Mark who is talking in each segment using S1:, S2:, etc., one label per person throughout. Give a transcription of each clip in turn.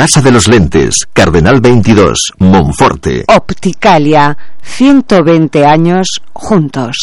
S1: Casa de los Lentes, Cardenal 22, Monforte.
S2: Opticalia, 120 años juntos.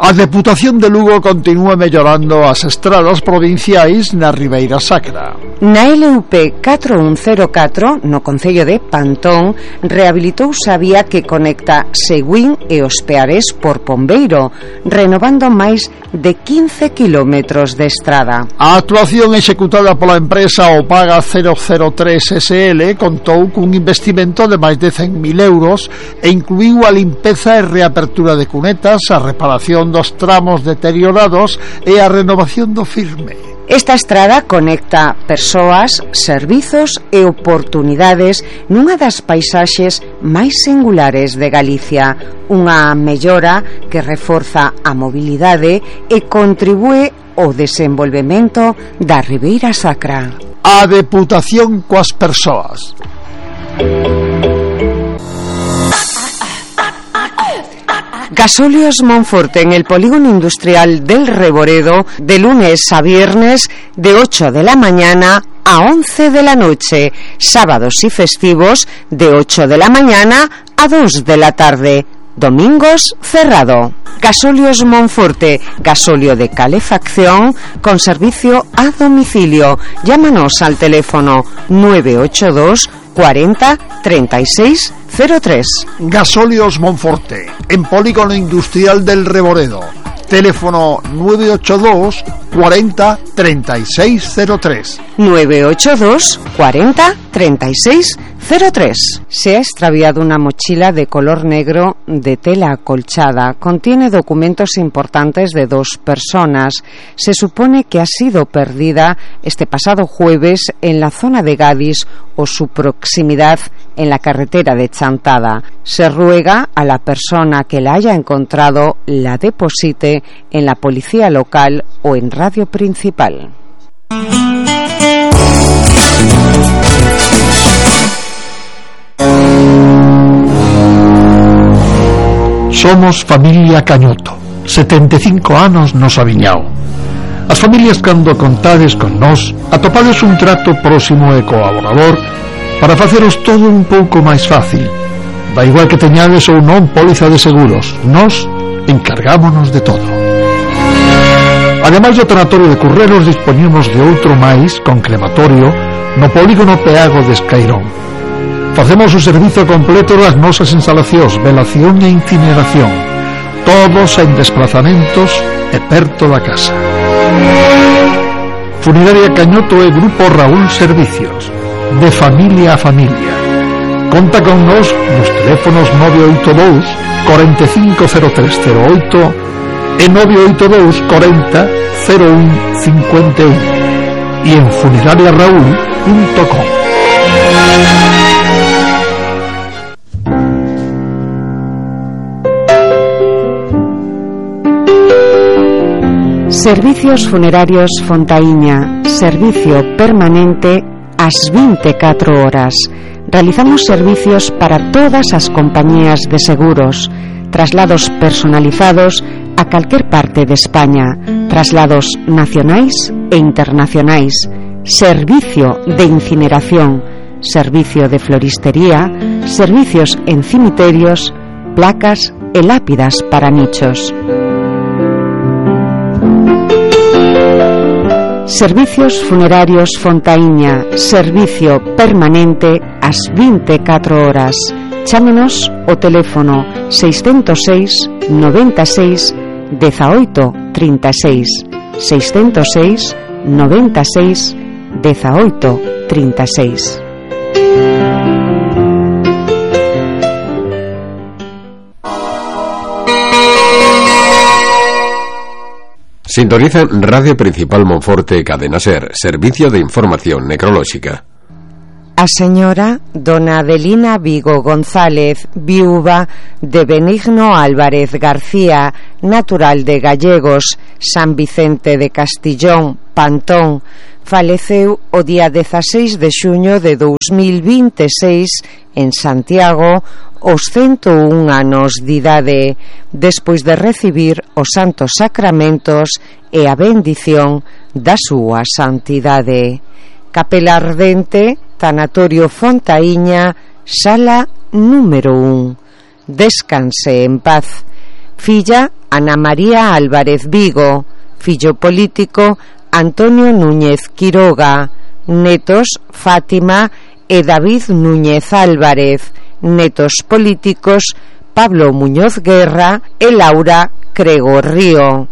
S3: A Deputación de Lugo continúa mellorando as estradas provinciais na Ribeira Sacra.
S2: Na LUP 4104, no concello de Pantón, rehabilitouse a vía que conecta Seguín e Os Peares por Pombeiro, renovando máis de 15 kilómetros de estrada.
S3: A actuación executada pola empresa Opaga 003 SL contou cun investimento de máis de 100.000 euros e incluíu a limpeza e reapertura de cunetas, a reparación dos tramos deteriorados e a renovación do firme.
S2: Esta estrada conecta persoas, servizos e oportunidades nunha das paisaxes máis singulares de Galicia, unha mellora que reforza a mobilidade e contribúe ao desenvolvemento da Ribeira Sacra.
S3: A Deputación coas persoas.
S2: Gasóleos Monforte en el polígono industrial del Reboredo, de lunes a viernes de 8 de la mañana a 11 de la noche, sábados y festivos de 8 de la mañana a 2 de la tarde, domingos cerrado. Gasóleos Monforte, gasóleo de calefacción con servicio a domicilio. Llámanos al teléfono 982 40 36 03.
S3: Gasóleos Monforte, en polígono industrial del Reboredo. Teléfono 982 40 36 03.
S2: 982 40 36 03. Se ha extraviado una mochila de color negro de tela acolchada. Contiene documentos importantes de 2 personas. Se supone que ha sido perdida este pasado jueves en la zona de Gadis o su proximidad en la carretera de Chantada. Se ruega a la persona que la haya encontrado la deposite en la policía local o en Radio Principal.
S3: Somos familia Cañoto, 75 anos nos aviñao. As familias, cando contades con nós, atopades un trato próximo e colaborador para faceros todo un pouco máis fácil. Da igual que teñades ou non póliza de seguros, nós encargámonos de todo. Ademais do tanatorio de Curreros, dispoñemos de outro máis con crematorio no polígono Peago de Escairón. Facemos o servizo completo das nosas instalacións, velación e incineración, todos en desplazamentos e perto da casa. Funeraria Cañoto e Grupo Raúl Servicios, de familia a familia. Conta con nos nos teléfonos 982 450308 e 982 40 01 51 e en funerariaraúl.com.
S2: Servicios Funerarios Fontaíña, servicio permanente ás 24 horas. Realizamos servicios para todas as compañías de seguros, traslados personalizados a calquer parte de España, traslados nacionais e internacionais, servicio de incineración, servicio de floristería, servicios en cimiterios, placas e lápidas para nichos. Servicios Funerarios Fontaíña, servicio permanente ás 24 horas. Chámenos o teléfono 606 96 18 36, 606 96 18 36.
S4: Sintonizan Radio Principal Monforte, Cadena Ser, servicio de información necrolóxica.
S2: A señora dona Adelina Vigo González, viúva de Benigno Álvarez García, natural de Gallegos, San Vicente de Castillón, Pantón, faleceu o día 16 de xuño de 2026 en Santiago aos 101 anos de idade, despois de recibir os santos sacramentos e a bendición da súa santidade. Capela Ardente, Tanatorio Fontaíña, sala número 1. Descanse en paz. Filla Ana María Álvarez Vigo. Fillo político Antonio Núñez Quiroga. Netos Fátima e David Núñez Álvarez. Netos políticos Pablo Muñoz Guerra e Laura Crego Río.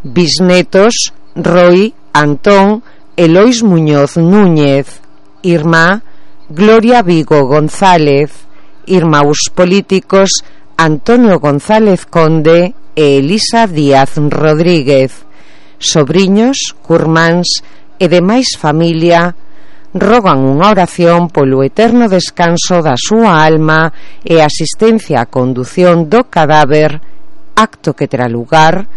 S2: Bisnetos Roy Antón e Lois Muñoz Núñez. Irmá Gloria Vigo González. Irmãos políticos Antonio González Conde e Elisa Díaz Rodríguez. Sobriños, curmáns e demais familia rogan unha oración polo eterno descanso da súa alma e asistencia á condución do cadáver, acto que terá lugar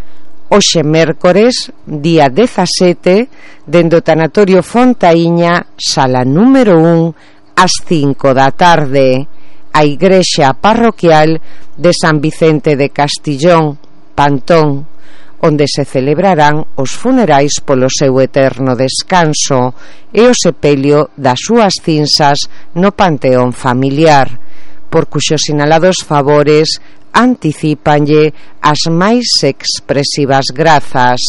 S2: hoxe mércores, día 17, dende o Tanatorio Fontaíña, sala número 1, ás 5 da tarde, a igrexa parroquial de San Vicente de Castillón, Pantón, onde se celebrarán os funerais polo seu eterno descanso e o sepelio das súas cinzas no panteón familiar, por cuxos sinalados favores anticípanlle as máis expresivas grazas.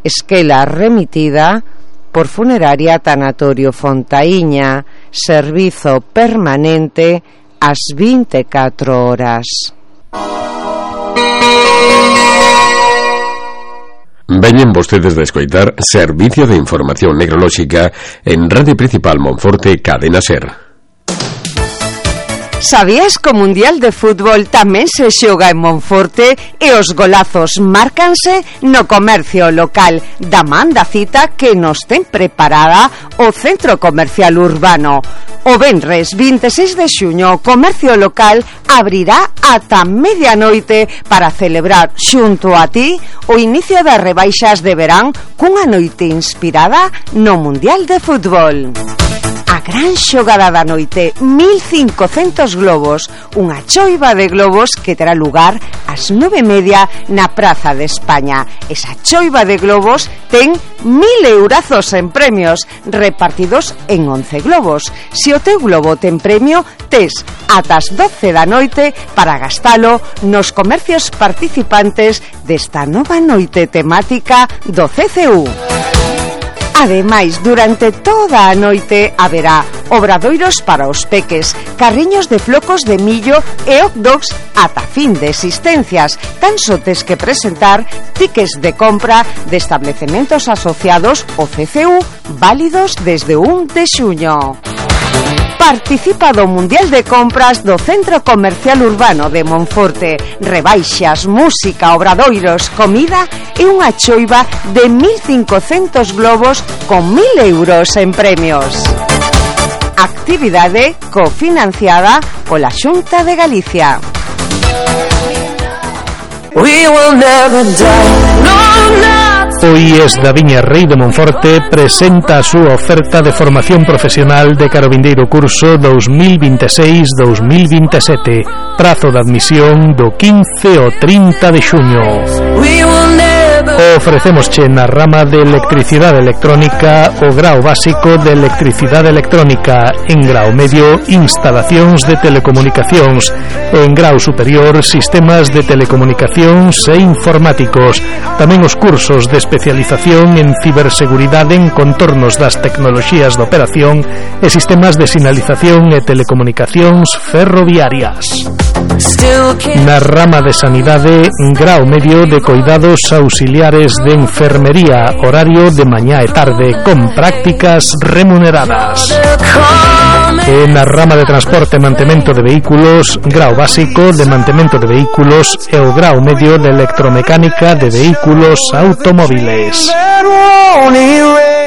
S2: Esquela remitida por Funeraria Tanatorio Fontaíña, servizo permanente ás 24 horas.
S4: Veñen vostedes de escoitar Servicio de Información Necrolóxica en Radio Principal Monforte, Cadena SER.
S2: Sabías que o Mundial de Fútbol tamén se xoga en Monforte e os golazos márcanse no comercio local da man da cita que nos ten preparada o Centro Comercial Urbano. O venres 26 de xuño o comercio local abrirá ata medianoite para celebrar xunto a ti o inicio das rebaixas de verán cunha noite inspirada no Mundial de Fútbol. A gran xogada da noite, 1500 globos, unha choiva de globos que terá lugar ás 9:30 na Praza de España. Esa choiva de globos ten 1000 eurazos en premios, repartidos en 11 globos. Se o teu globo ten premio, tes ata as 12 da noite para gastalo nos comercios participantes desta nova noite temática do CCU. Ademais, durante toda a noite haberá obradoiros para os peques, carriños de flocos de millo e hot dogs ata fin de existencias. Tan só tes que presentar tickets de compra de establecementos asociados ao CCU válidos desde 1 de xuño. Participa do Mundial de Compras do Centro Comercial Urbano de Monforte. Rebaixas, música, obradoiros, comida e unha choiva de 1500 globos con 1000 euros en premios. Actividade cofinanciada pola Xunta de Galicia.
S5: O IES da Viña Rei de Monforte presenta a súa oferta de formación profesional de carovindeiro curso 2026-2027. Prazo de admisión do 15 ao 30 de xuño. Ofrecémosche na rama de electricidade electrónica o grao básico de electricidade electrónica, en grao medio instalacións de telecomunicacións, en grao superior sistemas de telecomunicacións e informáticos, tamén os cursos de especialización en ciberseguridade en contornos das tecnoloxías de operación e sistemas de sinalización e telecomunicacións ferroviarias. Na rama de sanidade, grao medio de coidados auxiliares de enfermería, horario de mañá e tarde, con prácticas remuneradas. E na rama de transporte e mantemento de vehículos, grao básico de mantemento de vehículos e o grao medio de electromecánica de vehículos automóviles.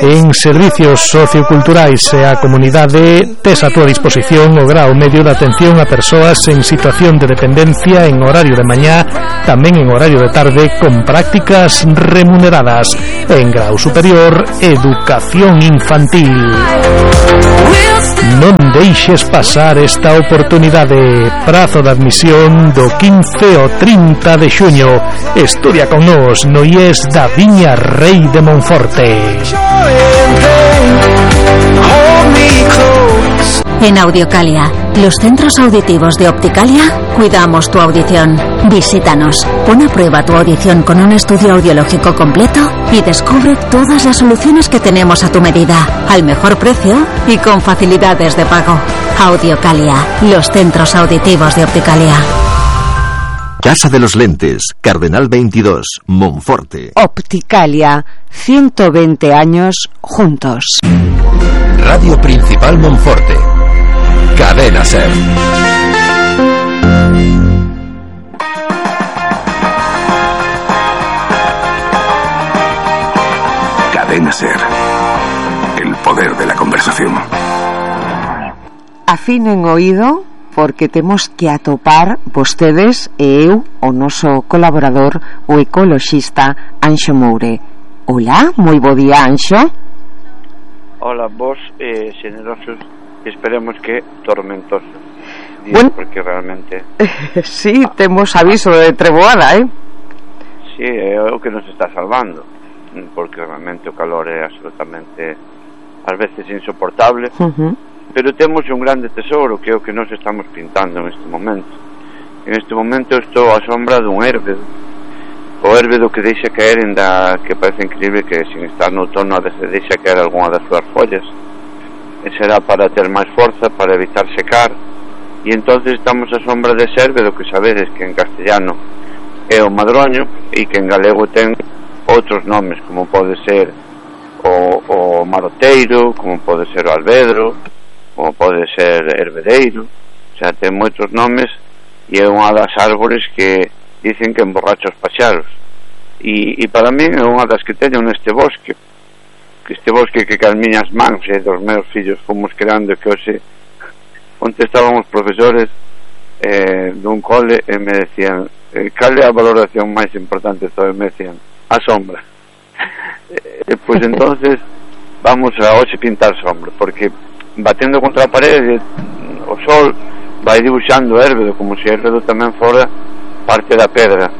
S5: En servicios socioculturais e a comunidade, tes a túa disposición o grao medio de atención a persoas en situación de dependencia en horario de mañá, tamén en horario de tarde, con prácticas remuneradas. En grao superior, educación infantil. Non deixes pasar esta oportunidade. Prazo de admisión do 15 ao 30 de xuño. Estudia con nós no IES da Viña Rei de Monforte.
S6: En Audiocalia, los centros auditivos de Opticalia, cuidamos tu audición. Visítanos, pon a prueba tu audición con un estudio audiológico completo y descubre todas las soluciones que tenemos a tu medida, al mejor precio y con facilidades de pago. Audiocalia, los centros auditivos de Opticalia.
S1: Casa de los Lentes, Cardenal 22, Monforte.
S2: Opticalia, 120 años juntos.
S4: Radio Principal Monforte. Cadena SER.
S7: Cadena SER. El poder de la conversación.
S2: Afinen oído, porque temos que atopar vostedes e eu, o noso colaborador, o ecoloxista Anxo Moure. Hola, moi bo día, Anxo.
S8: Hola, vos, generosos, esperemos que tormentosos.
S2: Bueno,
S8: porque realmente...
S2: sí, temos aviso de treboada,
S8: Sí, é o que nos está salvando, porque realmente o calor é absolutamente, ás veces, insoportable, pero temos un grande tesouro, que é o que nos estamos pintando en este momento. En este momento estou á sombra dun érbedo, o érbedo que deixa caer que parece increíble que sin estar no outono a veces deixa caer algunha das súas follas, e será para ter máis forza, para evitar secar, e entonces estamos á sombra dese érbedo que sabedes que en castellano é o madroño e que en galego ten outros nomes, como pode ser o maroteiro, como pode ser o albedro, como pode ser herbedeiro, o sea, ten moitos nomes, e é unha das árbores que dicen que emborracha os paxaros, e para mí é unha das que teño neste bosque, que as miñas mans e dos meus fillos fomos creando, que hoxe onte estaban os profesores dun cole e me decían cal é a valoración máis importante de todo, e me decían a sombra. Pois entonces vamos a hoxe pintar sombra, porque batendo contra a parede o sol vai dibuixando o érbedo, como se o érbedo tamén fora parte da pedra,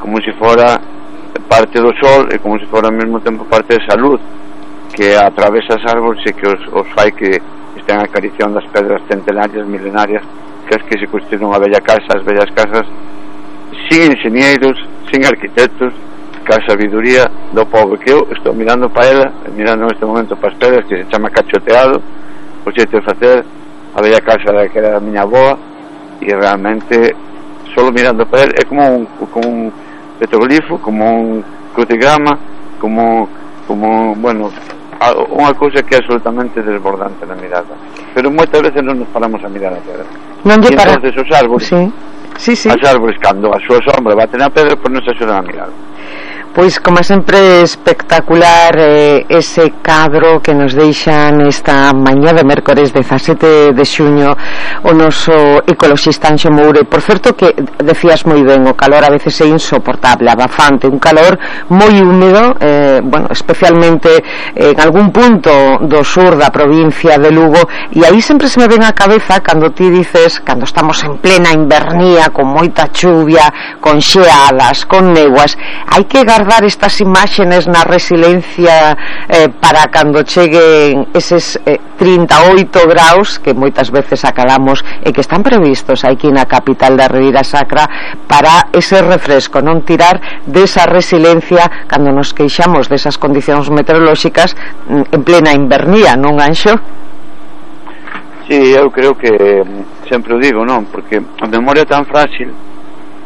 S8: como se fora parte do sol e como se fora ao mesmo tempo parte desa luz que atravesa as árbores e que os fai que estén acariciando as pedras centenarias, milenarias, que as que se construíron a bella casa, as bellas casas, sin enxeñeiros, sin arquitectos, ca sabiduría do povo, que eu estou mirando para ela, mirando neste momento para as pedras, que se chama cachoteado, o xeito de facer a bella casa que era a miña avoa, e realmente solo mirando para ela é como un petroglifo, como un crucigrama, como bueno, unha cousa que é absolutamente desbordante na mirada, pero moitas veces non nos paramos a mirar a pedra.
S2: Non lle para...
S8: entonces os árbores,
S2: sí.
S8: As árbores, cando a súa sombra bate na pedra, pois non se axudan a mirar.
S2: Pois, como sempre, espectacular ese cadro que nos deixan esta mañá de mércores 17 de xuño o noso ecoloxista Anxo Moure. Por certo que decías moi ben, o calor a veces é insoportable, abafante, un calor moi húmedo, bueno, especialmente en algún punto do sur da provincia de Lugo, e aí sempre se me ven a cabeza cando ti dices, cando estamos en plena invernía, con moita chuvia, con xeadas, con neguas, hai que guardar estas imágenes na resiliencia para cando cheguen eses 38 graus que moitas veces acalamos e que están previstos aquí na capital da Ribeira Sacra, para ese refresco, non tirar desa resiliencia cando nos queixamos desas condicións meteorolóxicas en plena invernía, non, Anxo?
S8: Sí, eu creo que sempre o digo, non? Porque a memoria é tan frágil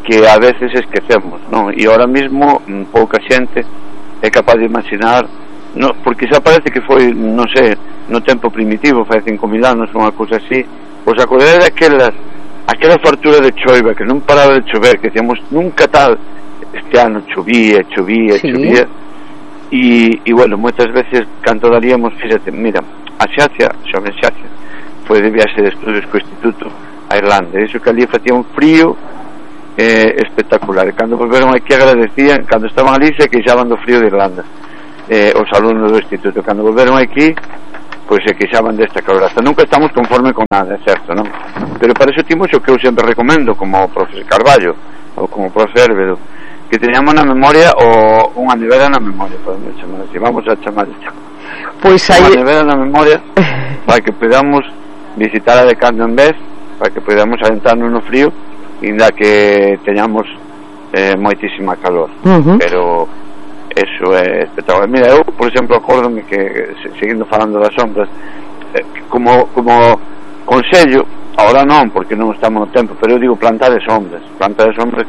S8: que a veces esquecemos, non? E ahora mismo pouca xente é capaz de imaginar, non? Porque xa parece que foi, non sei, no tempo primitivo, fai 5.000 anos, unha cousa así, pois acordei aquela fartura de choiva que non paraba de chover, que decíamos nunca tal, este ano chovía, e bueno, moitas veces canto daríamos, fíxate, mira, a Xacia, sobre Xacia, foi de viaxe de estudios co Instituto a Irlanda, e iso que ali facía un frío espectacular, e cando volveron aquí agradecían, cando estaban ali se queixaban do frío de Irlanda, os alumnos do instituto, cando volveron aquí pois se queixaban desta caloraza. Nunca estamos conforme con nada, é certo, non? Pero para eso timos o que eu sempre recomendo, como o profesor Carballo ou como o profesor Hérbedo, que teñamos na memoria ou unha nevera na memoria, podemos chamar así, vamos a chamar isto, pois hai unha nevera na memoria para que podamos visitar de cando en vez para que podamos adentrarnos no frío ainda que teñamos moitísima calor. Pero eso é espectacular. Mira, eu, por exemplo, acórdome que, seguindo falando das sombras, como consello, ahora non, porque non estamos no tempo, pero eu digo plantar sombras,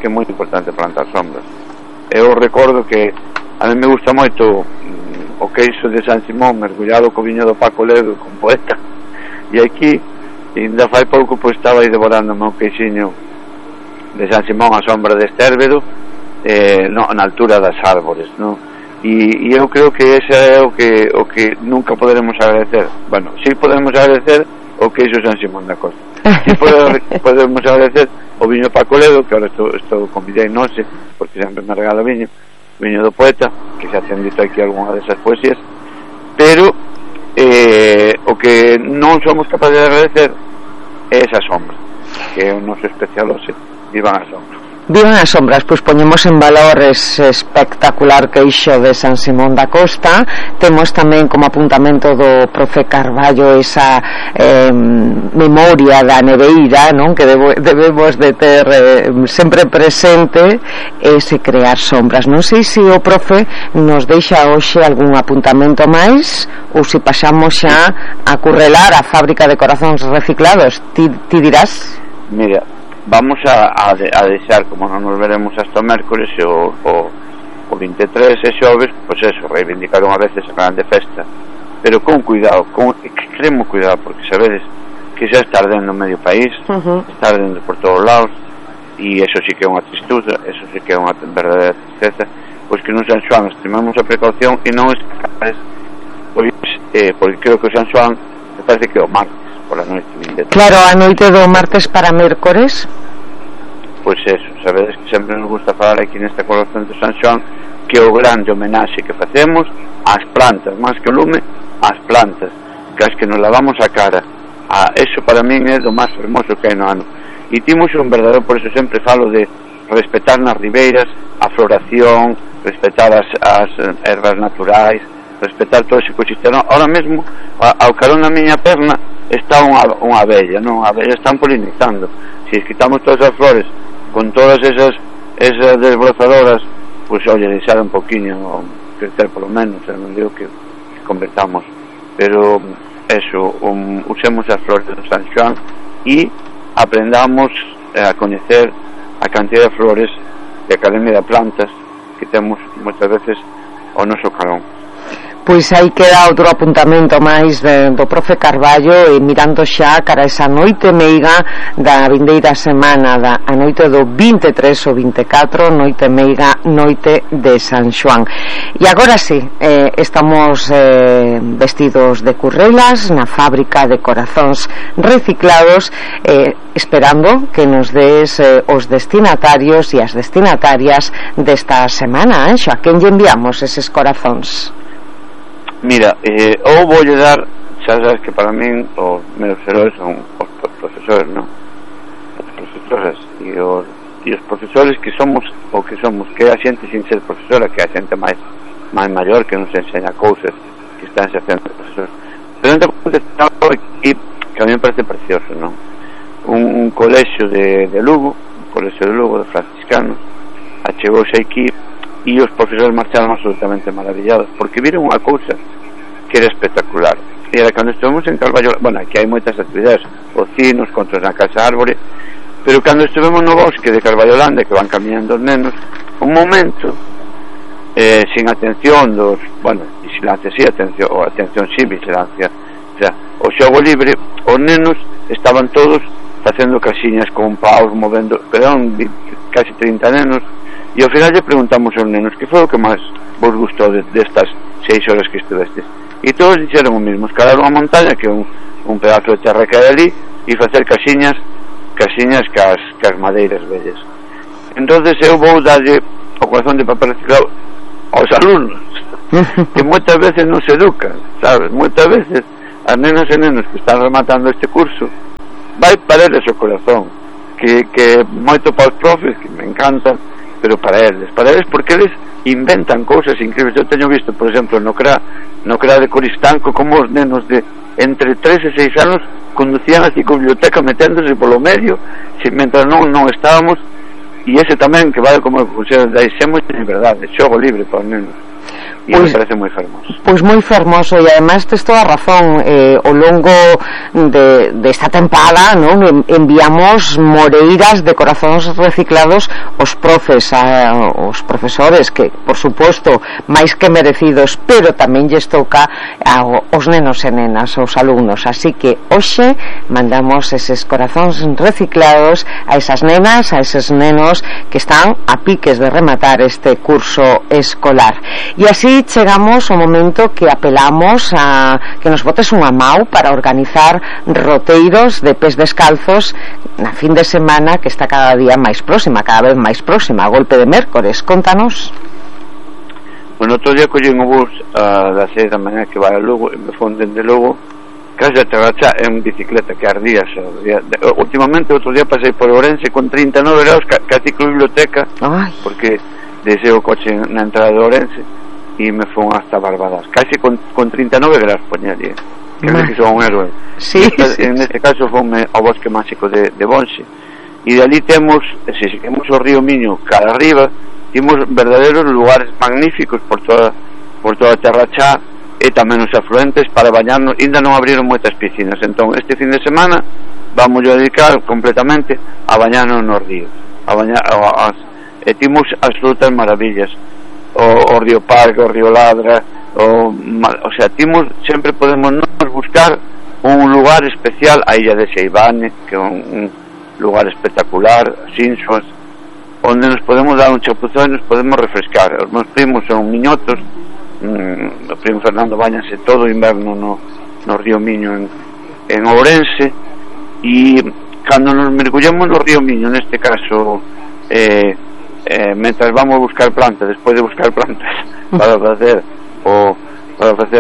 S8: que é moi importante plantar sombras. Eu recordo que a mí me gusta moito o queixo de San Simón mergullado co viño do Paco Ledo con Poeta, e aquí ainda fai pouco pois estaba aí devorándome o queixiño de San Simón a sombra de Estérbedo, na altura das árbores, non? E eu creo que ese é o que nunca poderemos agradecer. Bueno, si podemos agradecer o queixo San Simón da Costa, si podemos agradecer o viño Paco Ledo, que ahora estou convidei nose porque sempre me regala viño do Poeta, que xa ten dito aquí algunha desas poesías, pero o que non somos capaces de agradecer é esa sombra, que é o noso especial hoxe. Vivan as sombras.
S2: Vivan as sombras, pois poñemos en valor ese espectacular queixo de San Simón da Costa. Temos tamén como apuntamento do profe Carballo esa memoria da neveira, non? Que debemos de ter sempre presente, ese crear sombras. Non sei se o profe nos deixa hoxe algún apuntamento máis ou se pasamos xa a currelar a fábrica de corazóns reciclados. Ti dirás?
S8: Mira, vamos a deixar, como non nos veremos hasta o mércores o 23 e xoves, pois eso, reivindicar unha vez esa grande festa, pero con cuidado, con extremo cuidado, porque sabedes que xa está ardendo medio país, está ardendo por todos lados, e eso sí que é unha tristuza, eso sí que é unha verdadeira tristeza, pois que non San Xoán extremamos a precaución e non escapes, pois, porque creo que o San Xoán me parece que é o martes pola noite 23.
S2: Claro, a noite do martes para mércores.
S8: Pois eso, sabedes que sempre nos gusta falar aquí nesta colaboración de San Xoán que o grande homenaxe que facemos ás plantas, máis que o lume, ás plantas, que as que nos lavamos a cara, eso para min é do máis hermoso que hai no ano. E timos un verdadero, por eso sempre falo de respetar nas ribeiras a floración, respetar as ervas naturais, respetar todo ese ecosistema. Ahora mesmo, ao carón na miña perna está unha abella, non? A abella están polinizando. Se quitamos todas as flores con todas esas desbrozadoras, pois oye, deixar un poquinho crecer polo menos, non digo que convertamos, pero eso, usemos as flores de San Xoán e aprendamos a coñecer a cantidad de flores de Academia de Plantas que temos moitas veces ao noso carón.
S2: Pois aí queda outro apuntamento máis do profe Carballo, e mirando xa cara esa noite meiga da vindeira semana, a noite do 23 ou 24, noite meiga, noite de San Xoán. E agora sí, estamos vestidos de currelas na fábrica de corazóns reciclados, esperando que nos des os destinatarios e as destinatarias desta semana. A quen lle enviamos eses corazóns?
S8: Mira, eu voulle dar, xa sabes que para min os meus heróis son os profesores, non? As profesoras e os profesores que somos o que somos, que é a xente sin ser profesora, que é a xente máis maior que nos enseña cousas, que están se facendo profesores. Pero entón, que a mí me parece precioso, non? Un colexio de Lugo, un colexio de Lugo de franciscanos, achegouse aquí e os profesores marcharon absolutamente maravillados porque viron unha cousa que era espectacular. E era cando estivemos en Carballo, bueno, aquí hai moitas actividades, ocinos, contos na casa árbore, pero cando estivemos no bosque de Carballolanda, que van caminando os nenos, un momento sin atención dos, bueno, vigilancia sí, atención sí, vigilancia, o sea, o xogo libre, os nenos estaban todos facendo casiñas con paus, movendo, eran casi 30 nenos. E ao final lle preguntamos aos nenos que foi o que máis vos gustou destas 6 horas que estivestes, e todos dixeron o mismo: escalar unha montaña, que é un pedazo de terra que hai ali, e facer casiñas cas madeiras vellas. Entonces eu vou darlle o corazón de papel reciclado aos alumnos que moitas veces non se educan, sabes, moitas veces as nenas e nenos que están rematando este curso vai para eles o corazón, que moito para os profes, que me encantan, pero para eles porque eles inventan cousas increíbles. Eu teño visto, por exemplo, no CRA de Coristanco, como os nenos de entre 3 e 6 anos conducían así con biblioteca meténdose polo medio, mentras non estábamos, e ese tamén que vale como consello de Aixemos de verdade, xogo libre para os nenos. E me parece moi fermoso.
S2: Pois moi fermoso, e ademais tes toda a razón. Ao longo desta tempada, non, enviamos moreiras de corazóns reciclados aos profes, aos profesores, que por suposto máis que merecidos, pero tamén lles toca aos nenos e nenas, aos alumnos. Así que hoxe mandamos eses corazóns reciclados a esas nenas, a eses nenos que están a piques de rematar este curso escolar. E así chegamos ao momento que apelamos a que nos botes unha mau para organizar roteiros de pés descalzos na fin de semana que está cada día máis próxima, cada vez máis próxima, a golpe de mércores. Contanos.
S8: Bueno, outro día collín o bus das 6 da mañá que vai a Lugo e me fon dende Lugo case a Terrachá en bicicleta que ardía. Últimamente outro día pasei por Ourense con 39 graus casi con biblioteca. Ay. Porque deseo o coche na entrada de Ourense e me fon hasta Barbadas casi con 39 graus poñaría que son un héroe. Sí, en este caso fonme ao bosque máxico de Bonxe e de ali temos, se seguimos o río Miño cara arriba, temos verdaderos lugares magníficos por toda a Terrachá e tamén os afluentes para bañarnos. Ainda non abriron moitas piscinas, entón este fin de semana vamos a dedicar completamente a bañarnos no río, e timos absolutas maravillas, o río Parque, o río Ladra, o sea, timos, sempre podemos nos buscar un lugar especial, a illa de Xeibane, que é un lugar espectacular, Sinsuas, onde nos podemos dar un chapuzón e nos podemos refrescar. Os meus primos son miñotos, o primo Fernando bañase todo o inverno no río Miño en Ourense, e cando nos mergullamos no río Miño, neste caso mentras vamos a buscar plantas, despois de buscar plantas para facer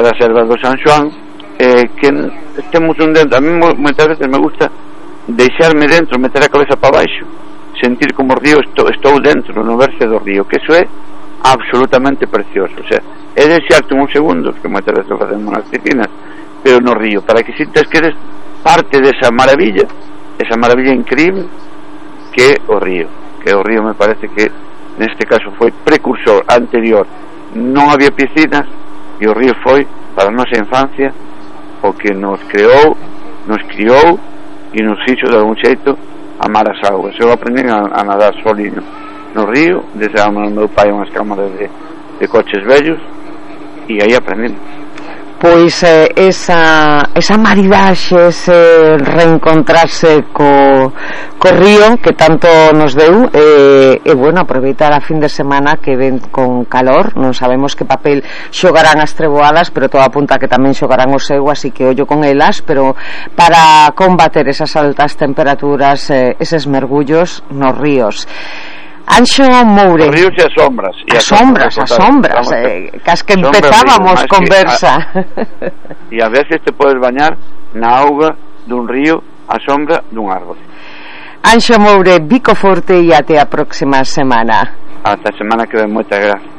S8: as ervas do San Xoán, que temos un dentro. A mí moitas veces me gusta deixarme dentro, meter a cabeza para baixo, sentir como o río, estou dentro no verse do río, que eso é absolutamente precioso. O sea, é deixarte uns segundos, que moitas veces facemos nas piscinas, pero no río, para que sintas que eres parte desa maravilla increíble que é o río. Que o río me parece que neste caso foi precursor, anterior. Non había piscinas e o río foi para a nosa infancia o que nos creou, nos criou e nos fixo de algún xeito amar as augas. Eu aprendi a nadar soliño no río, desde ao meu pai unhas cámaras de coches vellos, e aí aprendi.
S2: Pois esa maridaxe, ese reencontrarse co río que tanto nos deu, e bueno, aproveitar a fin de semana que ven con calor. Non sabemos que papel xogarán as treboadas, pero todo apunta que tamén xogarán o seu, así que ollo con elas, pero para combater esas altas temperaturas, eses mergullos nos ríos. Anxo Moure.
S8: Os ríos e as sombras.
S2: As sombras, cas que empezábamos conversa.
S8: E a veces te podes bañar na auga dun río a sombra dun árbol.
S2: Anxo Moure, bico forte e até a próxima semana.
S8: Ata a semana que ven, moitas gracias.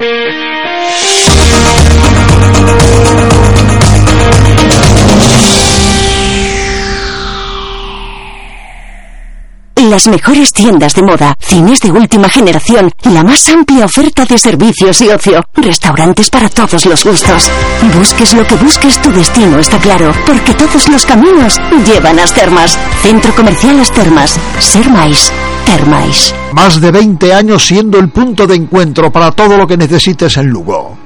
S6: Las mejores tiendas de moda, cines de última generación, la más amplia oferta de servicios y ocio, restaurantes para todos los gustos. Busques lo que busques, tu destino está claro, porque todos los caminos llevan a As Termas. Centro Comercial As Termas. Ser máis, ter máis.
S3: Más de 20 años siendo el punto de encuentro para todo lo que necesites en Lugo.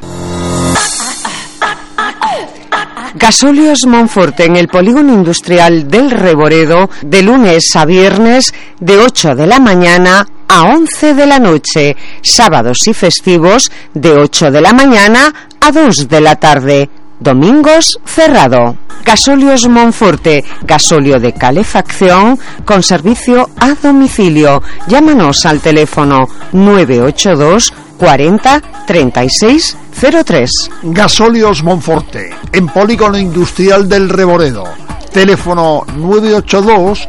S2: Gasóleos Monforte en el polígono industrial del Reboredo, de lunes a viernes de 8 de la mañana a 11 de la noche, sábados y festivos de 8 de la mañana a 2 de la tarde, domingos cerrado. Gasóleos Monforte, gasóleo de calefacción con servicio a domicilio. Llámanos al teléfono 982 40 36 03.
S3: Gasóleos Monforte, en polígono industrial del Reboredo. Teléfono 982